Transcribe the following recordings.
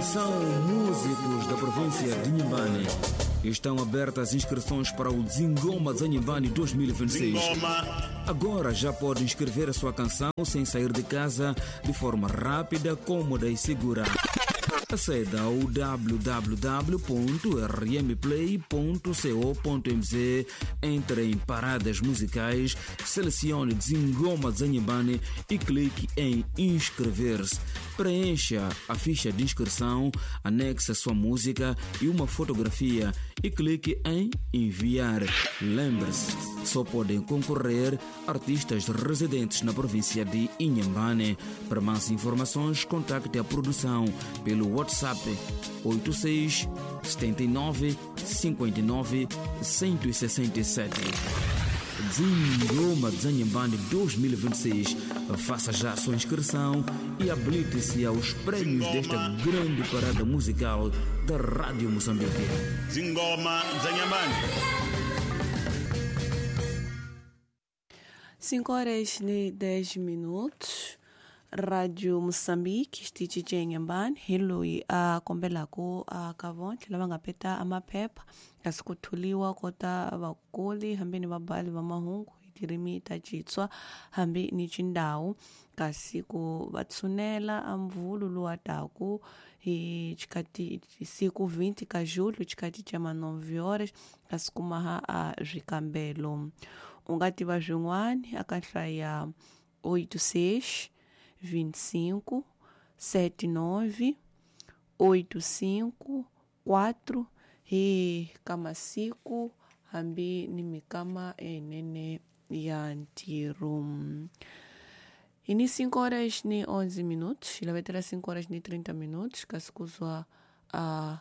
Atenção, músicos da província de Inhambane. Estão abertas as inscrições para o Zingoma de Inhambane 2026. Agora já pode inscrever a sua canção sem sair de casa, de forma rápida, cômoda e segura. Aceda ao www.rmplay.co.mz, entre em paradas musicais, selecione Zingoma de Inhambane e clique em inscrever-se. Preencha a ficha de inscrição, anexe a sua música e uma fotografia e clique em enviar. Lembre-se, só podem concorrer artistas residentes na província de Inhambane. Para mais informações, contacte a produção pelo WhatsApp 86 79 59 167. Zingoma de Inhambane 2026. Faça já a sua inscrição e habilite-se aos prêmios desta grande parada musical da Rádio Moçambique. Zingoma de Inhambane. 5:10. Radio Moçambique xitichi xa Inhambane hi loyi a kombelaku a ka vontlhe lava nga peta a maphepha kasi ku tholiwa kota vakoli hambi ni vabali va mahungu hi tirimi ta Xitswa hambi ni Xindau, kasi ku va tshunela a mvulu lowa taku hi xikati siku 20 ka julho xikati xa ma 9 horas kasi ku maha a swikambelo. U nga tiva swin'wana aka nhlayo ya 86 25 79 85 4 hi ka masiku hambi ni mikama enene ya ntirho. Hi ni 5:11, hi lavetela 5:30, kasi ku zwa a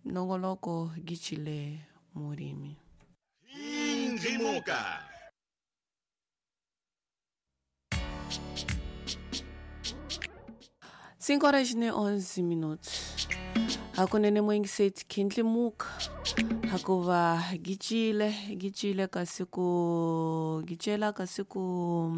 nongoloko Gicile Murimi. Ndzimuka. 5:11. Hakunene muingiseti khindlimuka hakuva gicile gicile kasi ku gicela kasi ku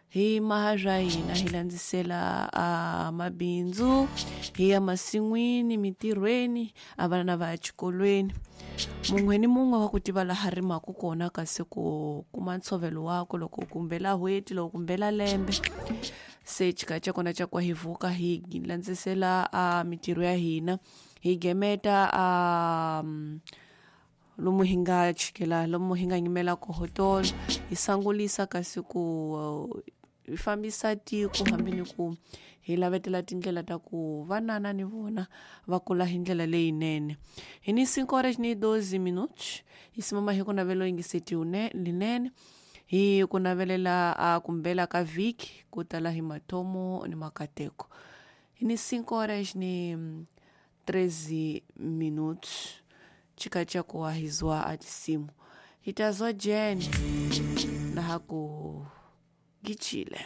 hi maha swa hina hi landzisela a mabindzu hi ya masin'wini mintirhweni a vana va ya xikolweni. Mun'we ni mun'we wa ku tiva laha rimaku kona kasi ku kuma ntshovelo wakwe loko kumbela n'hweti loko kumbela lembe. Se xikaya xa kona xa ku hi vuka hi landzisela a mintirho ya hina hi gemeta a lomu hi nga chikela lomu hi nga yimela koho tolo hi sangulisa kasi ku hi fambisa tiko hambi ni ku hi lavetela tindlela ta ku vanana ni vona va kula hi ndlela leyinene. Hi ni 5:12, hi simama hi ku navelo yingiseti linene hi ku navelela a kumbela ka vhiki ku tala hi mathomo ni makateko. Hi ni 5:13, chika cha kuwahizwa atisimu hitazwa jeni na haku gichile.